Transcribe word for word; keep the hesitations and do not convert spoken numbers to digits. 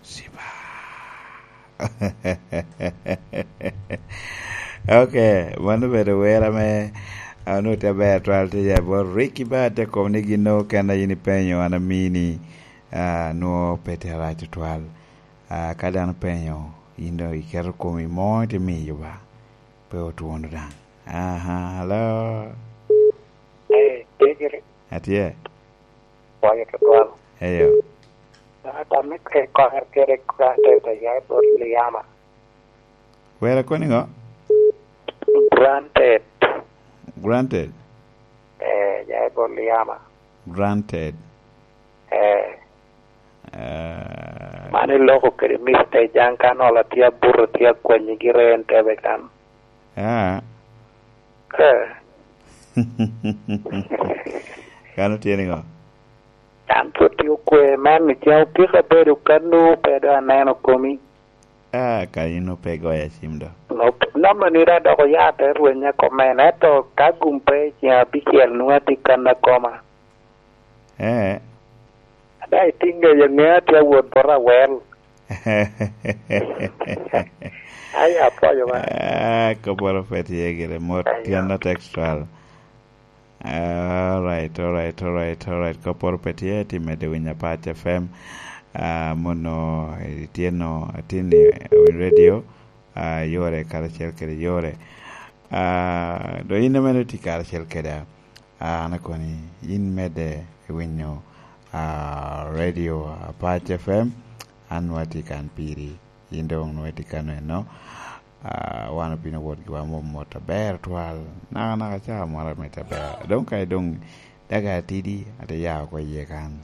Siba. Ok, mano obedo wer ame onwoŋo tye aber twal tye ya bot Ricky Bad, te kobo ni gin nwoŋo kena in ipenyo, an amini, ah, nwoŋo pe tye arac tutwal. Ah, ka dano penyo, in dong iketo komi mo ite miyo ba, pe otwono daŋ. Aha, hello. Eh, Degere. Atye. Pwoyo tutwal. Eyo. Ata me ke kono kede granted ya i bot Liama. Wera koni ŋo? Granted. Granted? Eh, ya i bot Liama. Granted. Eh. Eh. Man iloko kede mistake, an kan ola tye abuto, tye akwanyi gire en tebe kan. Ah. Eh. Kan otye niŋo? An pwod tye okwe, man ni ca opika bedo kano, pe do aneno komi. Ah, ka in ope goya cim do. Nop-, namba ni da dok oya te rwenya komen, ento ka gum pe i ceng abicel nwoŋo atye kan akoma. Eh. Ada itiŋ ŋeyo ŋe atye awot bot awel. Ai, apwoyo ba. Ah, kopporo pe tye gire, mot. Ayo. Tyen not extra. All right, all right, all right, all right. Kopporo pe tye, ti medde winyo Apac F M. Ah, mono itye no, atin i Win Radio, ah, yore karacel kede yore. Ah, do in ame itye karacel keda, ah, an akoni, in medde i winyo, ah, Radio Apac F M, an nwoŋo atye kan piri, in dong nwoŋo itye kan eno. Ah, wan obino wot giwa mot mot aber twal, naka naka ca moro amit aber. Dong ka dong daga atidi, ate ya oko iye kan.